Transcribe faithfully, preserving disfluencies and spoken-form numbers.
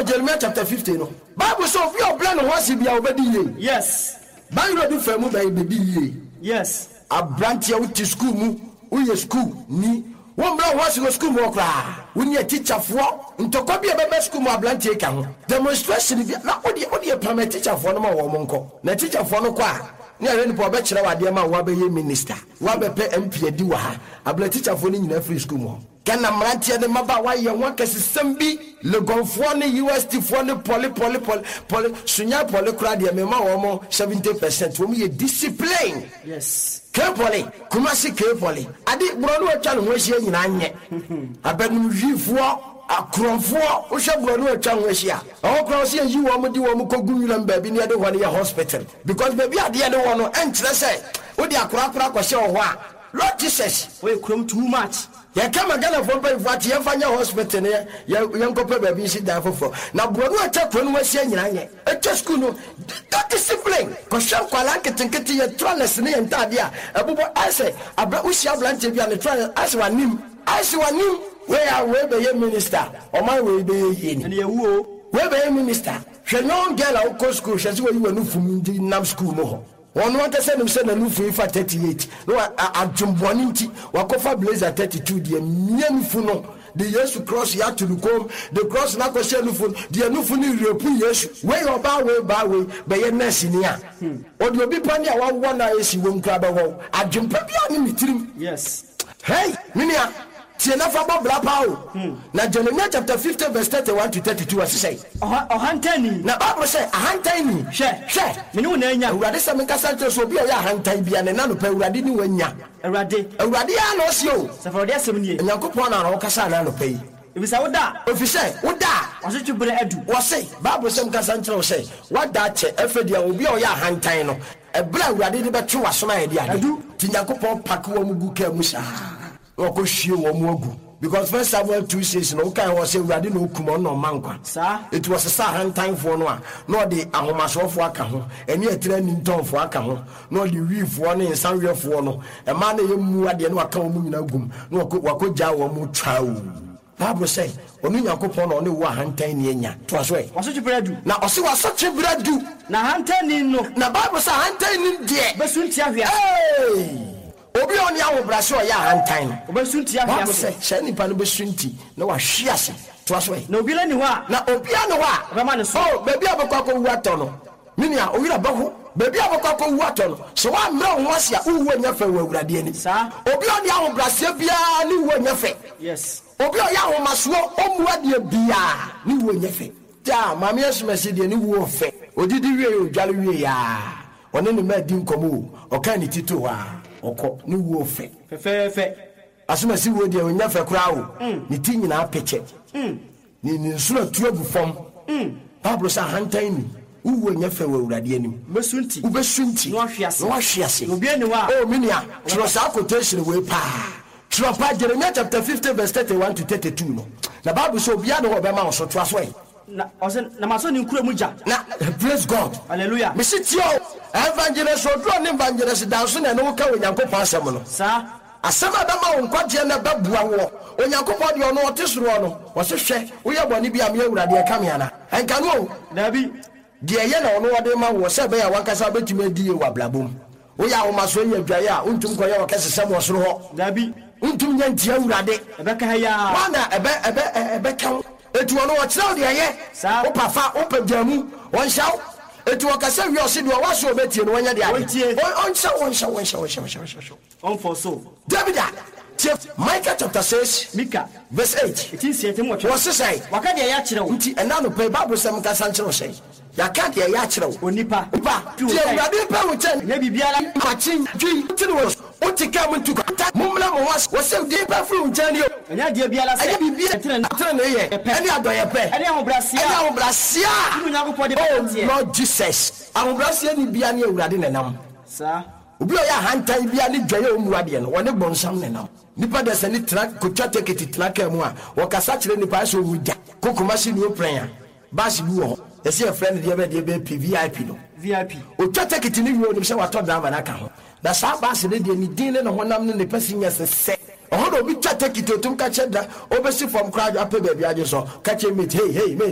Jeremiah chapter fifty no, Bible sɛ obi a ɔbrɛ ne ho ase bia ɔbɛdi yie. Yes. Bayerɛ de fa mu bɛyɛ bɛdi yie. Yes. Aberanteɛ, wote sukuu mu, woyɛ sukuu ni, wombrɛ wo ho ase wɔ sukuu mu hɔ koraa. Wone atikyafoɔ ntɔkwa bi a ɛbɛba sukuu mu, aberanteɛ ka ho demonstration bi na wodeɛ wodeɛ pam atikyafoɔ no ma wɔn mo nkɔ. Na atikyafoɔ no kɔ a, ne ahwɛ nipa ɔbɛkyerɛ wo adeɛ ma woabɛyɛ minister, woabɛpɛ M P adi wɔ ha. Abena tikyafoɔ no nyinaa firi sukuu mu hɔ. Ghana mmeranteɛ ne mmabaawa yɛ ho akɛsesɛm bi. Legonfoɔ ne U S T foɔ ne poly poly poly poly Sunyani poly koraa deɛ, mema wɔn mo seventy percent, wɔn yɛ discipline. Yes. K Poly, Kumasi K Poly, ade borɔno atwa ne ho ahyia nyinaa nyɛ abɛnum wifoɔ akorɔmfoɔ. Wohwɛ borɔno atwa ho ahyia ɛhɔ koraa, sɛ yɛyi wɔn de wɔn kɔgu nwuram baabi ne yɛde hɔ no yɛ hospital, because baabi adeɛ ne wɔ no, ɛnkyerɛ sɛ wode akorakora akɔhyɛ wɔ hɔ a, Lord Jesus. Woyɛ kurom too much. Yɛka ma Ghanafoɔ mpanyinfoɔ ate, yɛmfa nyɛ hospital no, yɛ yɛnkɔpɛ baabi nsi dan foforɔ. Na borɔno atwa kuro no ho ahyia nyinaa nyɛ atwa sukuu no da discipline. Kɔhwɛ nkwalaa nketenkete, yɛ trousers ne yɛ ntaadeɛ a ɛbobɔ ayɛ abrɛ. Wohyia aberanteɛ bi a ne trousers ayɛ w'anim ayɛ w'anim. Wei a wei bɛyɛ minister, ɔman wei bɛyɛ yie ni. Ɛne yɛwu o. Wei bɛyɛ minister. Hwɛ young girl a wokɔ sukuu, hwɛ sɛ wɔyi w'anu fum nti nam sukuu mu hɔ. Wɔn ankasa nim sɛ n'anufu yi fa thirty-eight na wa adwembɔne nti wakɔfa blazer thirty-two deɛ mia nufu no de Yesu cross yɛ ato ne kɔn de cross no akɔhyɛ nufu no deɛ nufu no repu Yesu. Wei ɔbaa wei baa wei bɛyɛ nurse ni a ɔde obi pa ne a wawɔ na esi wɔm kura bɛwɔ adwempa bi a ne ne tirim. Yes. Hey, menua, tie na fa bɔ bra paa o. Na Jeremiah chapter fifty verse thirty-one to thirty-two, ɔsesɛ. Ɔha ɔhantanni. Na Bible sɛ ahantan ni. Hwɛ. Hwɛ. Me ne wo na anya. Awurade sɛ menkasa nkyerɛ sɛ obi a ɔyɛ ahantan bia ne nanopɛ Awurade ne wanya. Awurade. Awurade a na ɔse o. Sɛ Awurade asɛm nie. Onyankopɔn na na ɔkasa na anɔpɛ yi. Efisɛ wo da. Ɛfiri sɛ woda a. Ɔsotwe berɛ adu. Wɔse Bible sɛ mkasa nkyerɛ wo sɛ woada akyɛ. Ɛfɛ deɛ obi a ɔyɛ ahantan no, ɛberɛ a Awurade de bɛtwe w'asom ayɛ de ade. Adu. Nti Nyankopɔn pake wɔ mu gu kaa mu saa na wɔkɔhwie wɔ mu agu, because First Samuel two six no, wokae wɔ sɛ Awurade na ɔkum, ɔno na ɔma nkwa. Saa. Ɛti wɔsesa ahantanfoɔ no a, na ɔde ahomasoɔfoɔ aka ho, ɛne atira nintɔnfoɔ aka ho, na ɔde wiifoɔ ne nsaweɛfoɔ no, ɛmaa no ɛyɛ mu adeɛ, na waka wɔn mu nyinaa gum na wakɔ- wakɔgyaa wɔn mu twaa o. Bible sɛ ɔno Nyankopɔn na ɔne wo ahantan ni anya. Toa so ɛ. Wasotwe berɛ adu. Na ɔse wasotwe berɛ du. Na ahantanni no. Na Bible sɛ ahantan ni deɛ. Bɛsu ntia hwe ase. Hey! Obi a ɔne ahobrɛase a ɔyɛ ahantan no. Ɔbɛsu ntia hwe Bible ase. sɛ saa nipa no bɛsu nti na wahwe ase. Toa so ɛ. Na obiara ni hɔ a. Na obiara ne hɔ a. Ɔbɛma ne so. Oh, baabi a bɛkɔ akɔwu atɔ no, me nua, owura bɛho baabi a bɛkɔ akɔwu atɔ no, sɛ woammrɛ wo ho ase a, wowu anya fɛ wɔ Awurade anim. Saa. Obi a ɔne ahobrɛaseɛ biara ne wu anya fɛ. Yes. Obi a ɔyɛ ahomasoɔ, ɔmmu adeɛ biara, ne wu anya fɛ. Taa maame asomasi deɛ, ne wu ɔfɛ. Odidi wie, odwale wie yaa, ɔne ne ma di nkɔmmɔ o, ɔka ne ti to hɔ a, ɔkɔ, ne wu ɔfɛ. Fɛfɛɛfɛ. Asomasi wuo deɛ, ɔnya fɛ koraa o. Ne ti nyinaa pɛkyɛ, ne ne nsuo atu agu fam. Bible sɛ ahantan ni, wowu anya fɛ wɔ Awurade anim. Wobɛsu nti. Wobɛsu nti. Na wahwe ase. Na wahwe ase. Na obiara ni hɔ a. O me nua, twerɛ saa quotation wei paa, twerɛ pa. Jeremiah chapter fifty verse thirty-one to thirty-two no, na Bible sɛ obiara ne hɔ ɔbɛma wo so. Toa so ɛ. Na ɔsɛ na masɔ ne nkura mu gya. Na praise God. Hallelujah. Mesi tie o, Evangelist Oduro ne Evangelist Danso na ɛne wo ka Onyankopɔn asɛm no. Saa. Asɛm a ɛbɛma wo nkwagyeɛ na ɛbɛboa woɔ. Onyankopɔn deɛ, ɔno ɔte soroɔ no, ɔse hwɛ, woyɛ bɔne bi a, me Awurade ɛka me ana? Ɛnka no o. Daabi. Deɛ ɛyɛ na ɔno ɔde ma woɔ sɛ ɛbɛyɛ a wankasa wobɛtumi adi yie wɔ abrabɔ mu. Woyɛ ahomasoɔ yi adwaeɛ a, wontum kɔyɛ wɔ kɛsesɛm wɔ soro hɔ. Daabi. Wontum nyɛ ntia Awurade. Ɛbɛka ha yaa. Wana ɛbɛ ɛbɛ ɛbɛka wo? Eti ɔno ɔkyerɛ wo deɛ ɛyɛ. Saa. Wopa fa, wopɛ gya mu, ɔnhyɛ wo. Eti ɔkasa wie, ɔse deɛ ɔwɔ so ɔbɛtie no, wɔnyɛ deɛ ade. Ɔntie. Ɔnhyɛ wo, ɔnhyɛ wo, ɔnhyɛ wo, ɔnhyɛ wo, ɔnhyɛ wo. Ɔmfɔ so. David a tie, Micah chapter six Mika. verse eight. Eti nsia ntam wɔtwe. Wɔse sɛn? Waka deɛ ɛyɛ akyerɛ wo. Nti ɛna anɔpa yi, Bible sɛ mekasa nkyerɛ wo sɛn? Yɛaka deɛ ɛyɛ akyerɛ wo. Onipa. Nipa, tie, Awurade pɛ wo kyɛn. Ɛnyɛ biribiara. Makye dwi tene wɔ wote kaa mu ntu kwa. Mommra mo ho ase, wɔsɛ deɛ pɛ firi wo nkyɛn ni o. Ɛnyɛ adeɛ biara sɛ. Ɛnyɛ biribiara. Ɛtene. Tene yɛ. Ɛpɛ. Ɛne adɔyɛ pɛ. Ɛne ahobrɛaseɛ. Ɛne ahobrɛaseɛ a. Ɛne Onyankopɔn de Oh bɛnanteɛ. Lord Jesus, ahobrɛaseɛ ni bia ne Awurade nenam. Saa. Obi a ɔyɛ ahantan bia ne dwaeɛ a ɔmmu adeɛ no, wɔne bɔnsam nenam. Nipa da sɛ ne tena kotwa tekiti tena kaa mu a, wɔkasa kyerɛ nipa sɛ ɔwu gya kokoma si ne oprɛn a, bus bi wɔ hɔ, yɛsɛ yɛfrɛ no deɛ bɛ deɛ bɛ P V I P no. V I P. Otwa tekiti ne wie, onim sɛ watɔ driver no aka ho. Na saa bus no deɛ, ne din ne ne honam ne ne passengers sɛ ɛhɔ na obi twa tekiti, otum ka kyerɛ da obɛsi fam koraa, apɛ baabi agye so ka kyerɛ, "Mate, hey, hey, mate."